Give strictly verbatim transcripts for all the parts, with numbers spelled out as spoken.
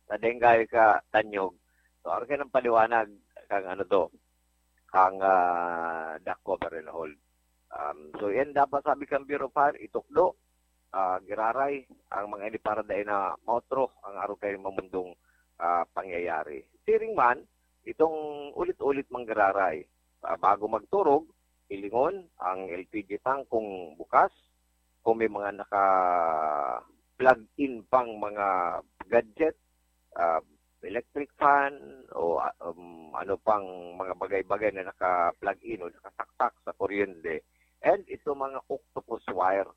na dengay ka tanyog. So, arog kaiyan ang paliwanag kang ano to, kang, ah, duck cover and hold. Um, so, yan dapat sabi kang Bureau of Fire, itukdo, ah, giraray ang mga ini para dai na maotro ang arog kaiyan mamundong, ah, pangyayari. Siring man, itong ulit-ulit manggiraray, ah, bago magturog, hilingon ang L P G tank kung bukas, kung may mga naka-plug-in pang mga gadget, ah, electric fan, o, ah, um, ano pang mga bagay-bagay na naka-plug-in o nakasaksak sa kuryente. And ito mga octopus wire.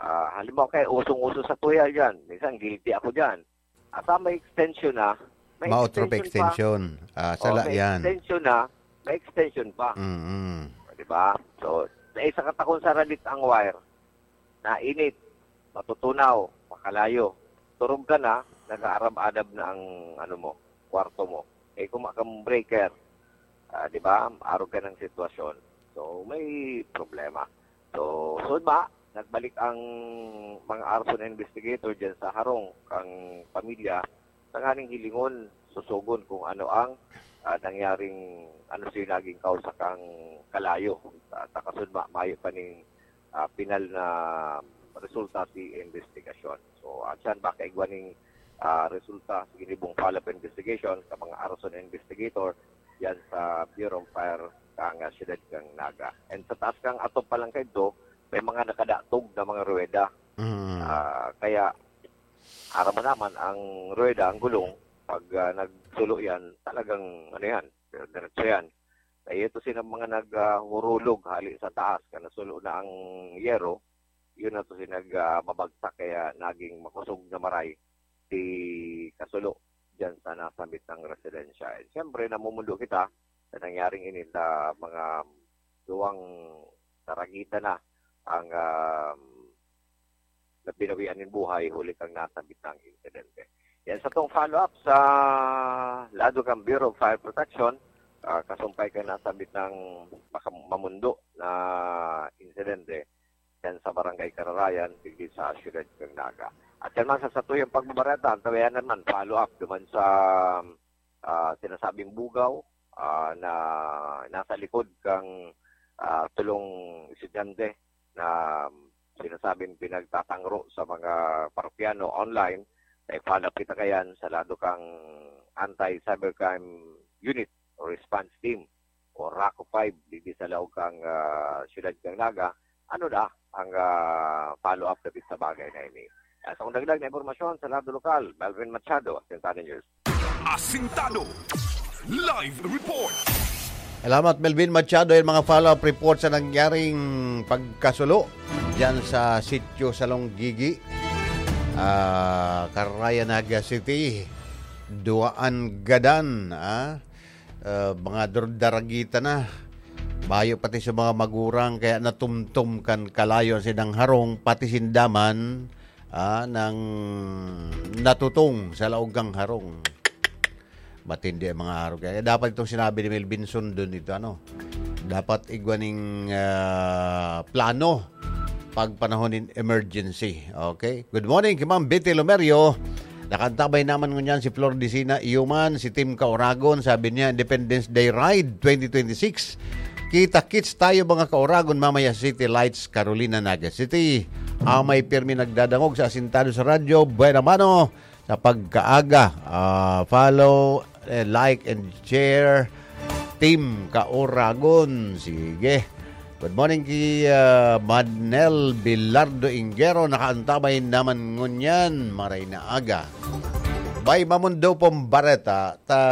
Ah, halimbawa kaya usong-uso sa tuya dyan. Minsan guilty ako dyan. Ata may extension na. May Maotro pa extension pa. extension. Ah, Oh, sala may yan. extension na. May extension pa. Mm-mm. Di ba? So, naisa ka takon sa radit ang wire. Nainit. Matutunaw. Makalayo. Turog ka na. Nag-aarab-adab na ang ano mo, kwarto mo. Eh, kung kang breaker, ah, di ba? Arog ka ng sitwasyon. So, may problema. So, so ba, nagbalik ang mga arson investigator dyan sa harong kang pamilya, tanganing hilingon, susugon kung ano ang, ah, nangyaring, ano siya naging kausa kang kalayo. At takasod ma, mayo pa ning, ah, pinal na resulta si investigasyon. So, at siyan baka igwa ning, ah, resulta sa ginibong follow-up investigation sa mga arson investigator yan sa Bureau of Fire kang, ah, siyudad kang Naga. And sa taas kang atop pa lang kaidto, may mga nakadatog na mga ruweda. Mm. Ah, kaya, aram mo naman, ang ruweda, ang gulong, pag, ah, nagsulo yan, talagang, ano yan, diretso yan. Kaya ito sila mga nag, ah, hurulog hali sa taas, kan nasulo na ang yero, yun na to sila nag, ah, mabagsak, kaya naging makusog na maray si kasulo dyan sa nasambit ng residensya. And siyempre, namumundo kita sa nangyaring ini sa mga duwang daragita na ang, um, na pinawian nin buhay huli kang nasambit na ang insidente. Yan sa tong follow-up sa lado kang Bureau of Fire Protection, ah, kasumpay kang nasambit ng maka-, mamundo na insidente yan sa Barangay Kararayan, digdi sa siyudad kang Naga. At yan man sa satuyang pagbabareta, ang tawayan naman, follow-up duman sa, ah, sinasabing bugaw, ah, na nasa likod kang, ah, tulong estudyante na sinasabing pinagtatangro sa mga parokyano online, na i-follow up kita kayan sa lado kang Anti-Cybercrime Unit o Response Team o RACU five, digdi sa laog kang, ah, siyudad kang Naga. Ano na ang, ah, follow-up dapit sa bagay na ini? Ah, sa dagdag na impormasyon sa lado lokal, Melvin Machado, Asintado News. Asintado Live Report. Salamat, Melvin Machado. Yung mga follow-up report sa nangyaring pagkasulo dyan sa sitio sa Longgigi, ah, Karaya, Naga City. Duwaan gadan, ah, ah, mga dur-, daragita na. Bayo pati sa mga magurang, kaya natumtom kan kalayo ang sinang harong, pati sinda man, ah, nang natutong sa laog kang harong. Matindi ang mga harong. Kaya dapat itong sinabi ni Melvin, sundon ito, ano? Dapat igwa ning, ah, plano pag panahon nin emergency. Okay? Good morning kay Ma'am Betty Lomerio. Nakaantabay naman ngunyan si Flor Dicina Iuman, si Tim Kauragon, sabi niya, Independence Day Ride twenty twenty-six. Kita-kits tayo, mga Kauragon, mamaya sa City Lights, Carolina, Naga City. Amay pirmi nagdadangog sa Asintado sa Radyo, buena mano sa pagkaaga. Ah, follow, eh, like, and share. Team Kauragon. Sige. Good morning kay, ah, Madnel Bilardo Ingero. Nakaantabay naman ngunyan. Maray na aga. Bay, mamundo pong bareta ta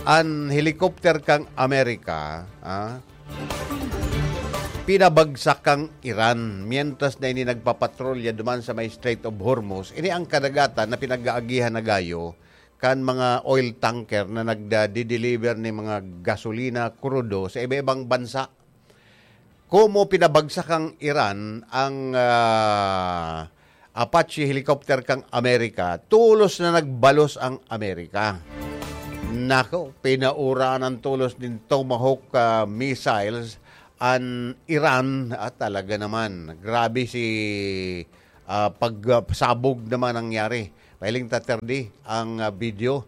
an helicopter kang Amerika, ah, pinabagsak kang Iran mientras na ini nagpapatrolya duman sa may Strait of Hormuz. Ini ang kadagatan na pinag-aagihan na gayo kan mga oil tanker na nagda-deliver ni mga gasolina, krudo sa iba-ibang bansa. Komo pinabagsak ang Iran ang, ah, Apache helicopter kang Amerika, tolos na nagbalos ang Amerika. Nako, pinauraan ang tolos nin Tomahawk, ah, missiles an Iran. At talaga naman, grabe si, ah, pag, ah, sabog naman nangyari. Pahiling ta, Terdi, ang, ah, video.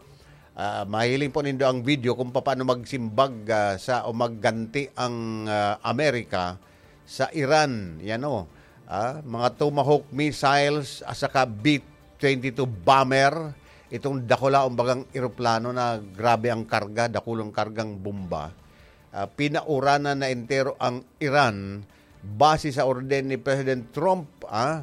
Ah, mahiling po nindo ang video kung paano magsimbag, ah, sa, o magganti ang, ah, Amerika sa Iran. Yan, oh. Ah, mga Tomahawk missiles at saka B twenty-two bomber. Itong dakula, umbagang eroplano na grabe ang karga, dakulong kargang bomba. Ah, pinauranan na entero ang Iran base sa orden ni President Trump, ah.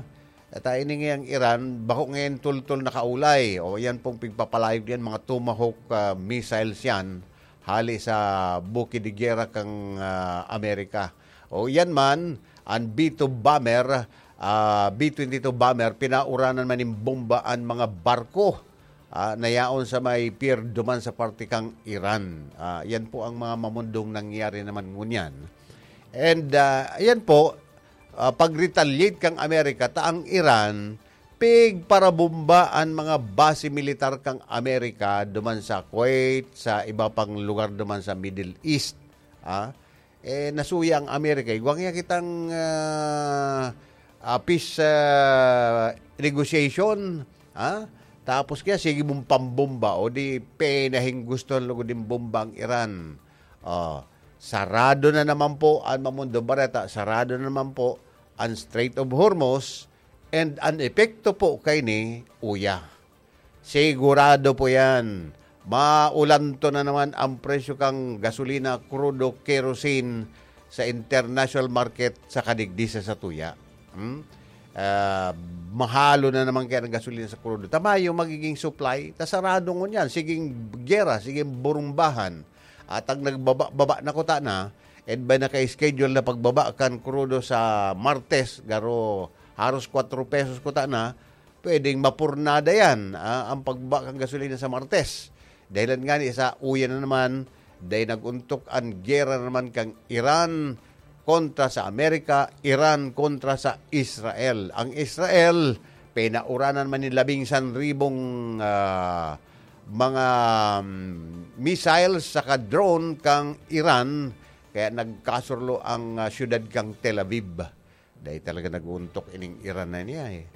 At, ah, ini ngayang Iran, bako ngayon tultol nakaulay. O, yan pong pigpapalayog yan, mga Tomahawk, ah, missiles yan, hali sa buki de gera kang, ah, Amerika. O, yan man, ang B two bomber, ah, B twenty-two bomber, pinauranan man nin bomba an mga barko, ah, na yaon sa may pier duman sa parte kang Iran. Ah, yan po ang mga mamundong nangyari naman ngunyan. And, ah, yan po, ah, pag-retaliate kang Amerika, ta ang Iran, pigparabomba an mga base militar kang Amerika duman sa Kuwait, sa iba pang lugar duman sa Middle East. Ah, eh, nasuya ang Amerika. Igwa niya kitang, ah, ah, peace, ah, negotiation, ha? Tapos kaya sige mong pambomba, o di pinahing gusto lugod din bomba ang Iran. Oh, sarado na naman po ang Mamundong Bareta, sarado na naman po ang Strait of Hormuz, and ang epekto po kay ni uya. Sigurado po yan. Maulanto na naman ang presyo kang gasolina, krudo, kerosene sa international market sa kadigdi sa satuya. Hmm? Ah, mahalo na naman kaya ang gasolina sa krudo. Tama yung magiging supply, ta sarado ngunyan. Siging gera, siging burumbahan. At ang nagbaba-baba na kuta na, and by naka-schedule na pagbaba kan krudo sa Martes, garo haros kwatro pesos kuta na, pwedeng mapurnada yan, ah, ang pagbaba kan gasolina sa Martes. Dahilan ngani sa uya na naman, dahil nag-untok ang gera naman kang Iran kontra sa Amerika, Iran kontra sa Israel. Ang Israel, pinauranan man ni labing san ribong, ah, mga, mm, missiles saka drone kang Iran, kaya nagkasurlo ang, ah, siyudad kang Tel Aviv. Dahil talaga nag-uuntok ining Iran na niya, eh.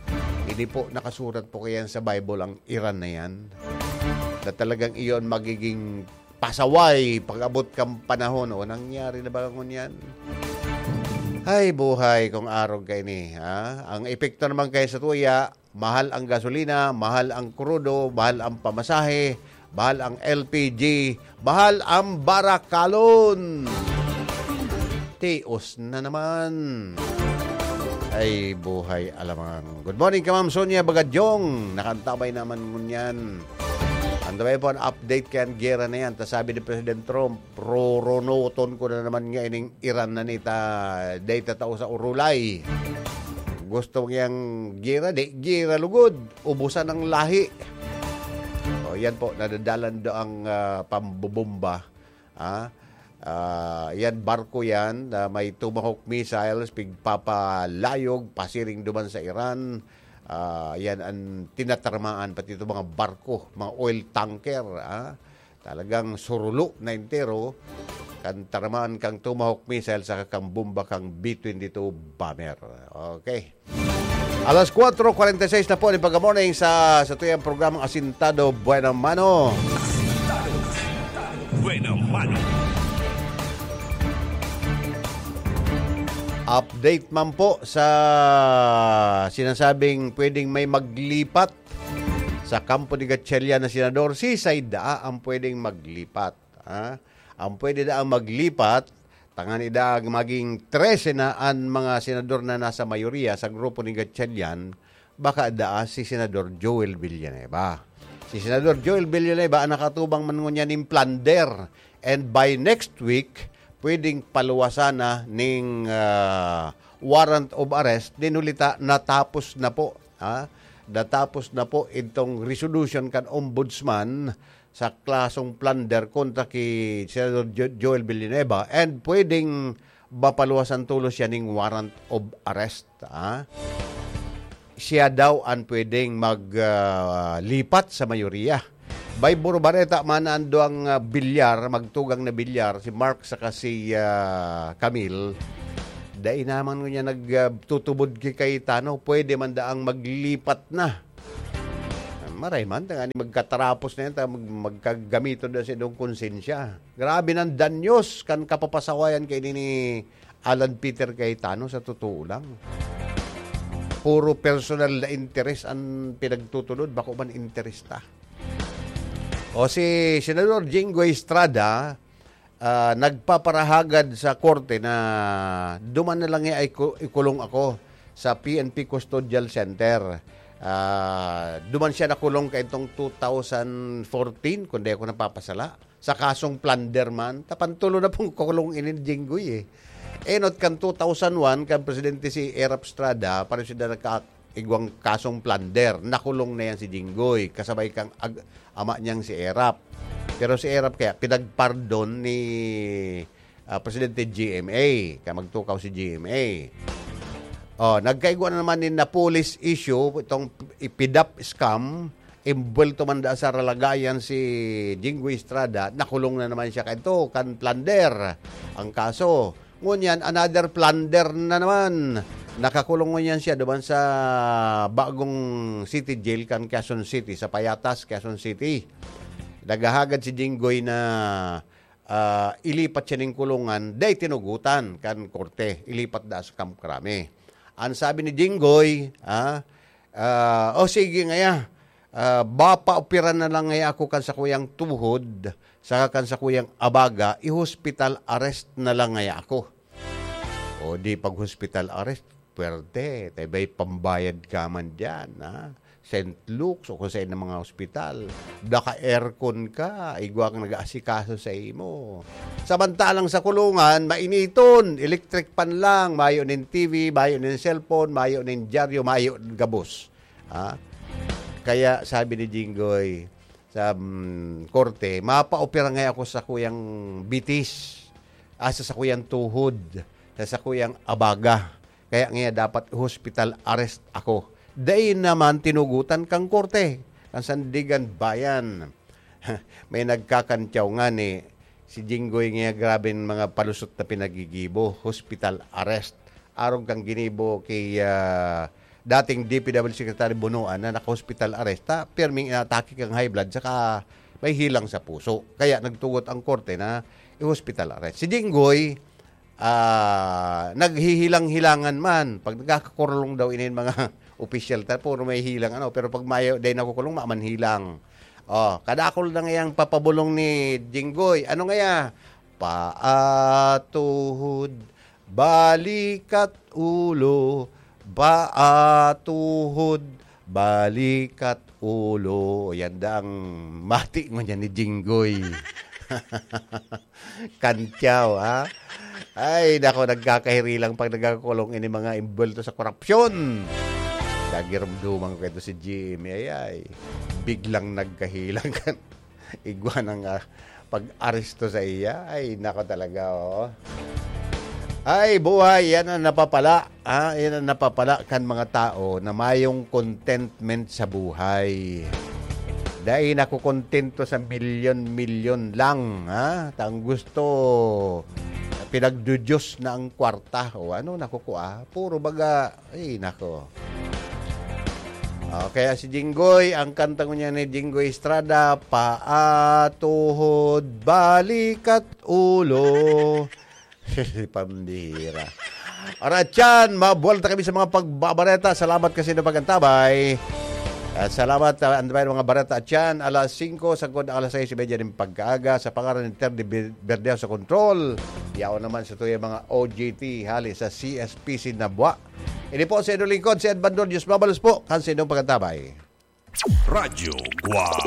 Ini po, nakasurat po kaya sa Bible ang Iran na yan? Na talagang iyon magiging pasaway pag-abot kang panahon. O, nangyari na ba ngunyan? Ay, buhay kong arog kaini, ha? Ang epekto naman kaya sa tuya, mahal ang gasolina, mahal ang krudo, mahal ang pamasahe, mahal ang L P G, mahal ang barakalon. Tios na naman. Ay, buhay alamang. Good morning ka, Ma'am Sonia Bagadyong. Nakantabay naman ngunyan. Ang tabay po, ang update kaya ang gera na yan. Ta sabi ni President Trump, "Roronoton ko na naman nga ining Iran na nita, data tao sa urulay." Gusto niyang gera, di gera lugod. Ubusan ang lahi. O, yan po, nadadalan do ang, ah, pambobomba. Ah, ah, yan, barko yan na may Tomahawk missiles, pigpapalayog, pasiring duman sa Iran. Ah, yan ang tinatarmaan, pati ito mga barko, mga oil tanker, ah. Talagang surulo na entero kan tarmaan kang Tomahawk missile saka kang bomba kang B twenty-two bomber. Okay. Alas kwatro kwarenta y seis na po ni pagka-morning sa, sa tuyang programang Asintado Buena Mano. Buena Mano. Update man po sa sinasabing pwedeng may maglipat sa kampo ni Gatchalian na senador. Sisay daa ang pwedeng maglipat, ha? Ang pwede daang maglipat, tangan ida maging trese na an mga senador na nasa mayoriya sa grupo ni Gatchalian, baka daa si Senador Joel Villanueva. Si Senador Joel Villanueva ang nakatubang man ngunyan nin plunder, and by next week, pwedeng paluwasan na ning, ah, warrant of arrest. Din huli ta, natapos na po, ha? Natapos na po itong resolution kan ombudsman sa klasong plunder kontra ki Senador Jo-, Joel Villanueva, and pwedeng mapaluwasan tulos siya ning warrant of arrest, ha? Siya daw ang pwedeng mag, ah, lipat sa mayoriya. By Burbareta man ang duwang, ah, bilyar, magtugang na bilyar, si Mark saka si, ah, Camille. Dai naman niya nag, ah, tutubod kay Cayetano, pwede man daang maglipat na. Maray man, tangani magkatarapos na yan, ta-, mag-, magkagamiton na sa idong konsensya. Grabe nang danyos kan kapapasawayan kaini ni Alan Peter Cayetano, sa totoo lang. Puro personal na interes ang pinagtutulod, bako man interes ta. O si Senador Jinggoy Estrada, ah, nagpaparahagad sa korte na duman na lang niya ay ku-, ikulong ako sa P N P Custodial Center. Ah, duman siya nakulong kaitong two thousand fourteen, kung di ako napapasala, sa kasong plunder man. Tapantulo na pong kulong ini ni Jinggoy eh. Enot kan two thousand one, kan Presidente si Erap Estrada, pareho sila nagka-, igwang kasong plunder. Nakulong na yan si Jinggoy, kasabay kang ag-, ama niyang si Erap. Pero si Erap kaya pinagpardon ni, ah, Presidente G M A, kaya magtukaw si G M A. Oh, nagkaigwa na naman ni na police issue, itong ipidap scam, imbuwelto man da sa ralagayan si Jinggoy Estrada, nakulong na naman siya kaito, kan plunder ang kaso. Ngunyan, another plunder na naman. Nakakulong ngunyan siya duman sa bagong city jail kan Quezon City, sa Payatas, Quezon City. Naghahagad si Jinggoy na, ah, ilipat siya ning kulungan, dai tinugutan kan korte, ilipat da sa Camp Crame. Ang sabi ni Jinggoy, ah, ah, "O sige ngaya, ah, bapaoperan na lang ngaya ako kan sakuyang tuhod, saka kan sakuyang abaga, i-hospital arrest na lang ngaya ako." O di pag hospital arrest, puwerte, tay bay pambayad ka man diyan, ha? Saint Luke's o kung saen na mga ospital. Naka-aircon ka, igwa kang nag-aasikaso sa imo. Samantalang sa kulungan, mainiton, electric fan lang, mayo nin T V, mayo nin cellphone, mayo nin dyaryo, mayo gabos. Ha? Kaya sabi ni Jinggoy sa, mm, korte, "Mapaopera ngaya ako sa sakuyang bitis, ah, sa sakuyang tuhod, sa sakuyang abaga. Kaya ngaya dapat hospital arrest ako." Dai naman tinugutan kang korte, kan Sandiganbayan. May nagkakantyaw ngani, si Jinggoy ngaya, grabeng mga palusot na pinagigibo, hospital arrest. Arog kang ginibo ki, ah, dating D P W Secretary Bonoan na naka-hospital arrest, ta pirming inatake kang high blood saka may hilang sa puso. Kaya nagtugot ang korte na i-hospital arrest. Si Jinggoy, ah, naghihilang-hilangan man. Pag nagkakakulong daw inin mga opisyal, ta puro may hilang ano, pero pag mayo, dai nakukulong, maman hilang. Oh, kadakul na ngayang papabulong ni Jinggoy. Ano ngaya? Paatuhod, balikat ulo, paatuhod, balikat ulo. Yan da ang mati ngunyan ni Jinggoy. Kantyaw, ha? Ay, nako, nagkakahirilang pag nagkakulong ini mga imbuwelto sa korupsyon. Nagirumduman ko ito si Jimmy, ay, ay. Biglang nagkahilang kan igwa ng, ah, pag-aresto sa iya. Ay, nako talaga, oh. Ay, buhay, yan ang napapala. Ah, yan ang napapala kan mga tao na mayong contentment sa buhay. Dai nakukontento sa milyon-milyon lang, ha? Ta ang gusto, pinagdudiyos na ang kwarta. O ano, nakukua. Puro baga, ay, nako. O, kaya si Jinggoy, ang kanta ngunyan ni Jinggoy Estrada, "Paatuhod, balikat ulo." Pambihira. Alright, yan. Mabuwalta kami sa mga pagbabareta. Salamat kasi na pag-antabay. At salamat, ah, antabay ng mga bareta at yan. Alas singko, sagkod alas sais y media ng pagkaaga. Sa pangaran ni Terdy Ber-, Berdejo sa control. Yaon naman sa tuya mga O J T, hali sa C S P C Nabua. Ini po sa inyong lingkod, si Edmando Diyos Mabalos po, kan sa inyong pag-antabay. Radyo Guwang.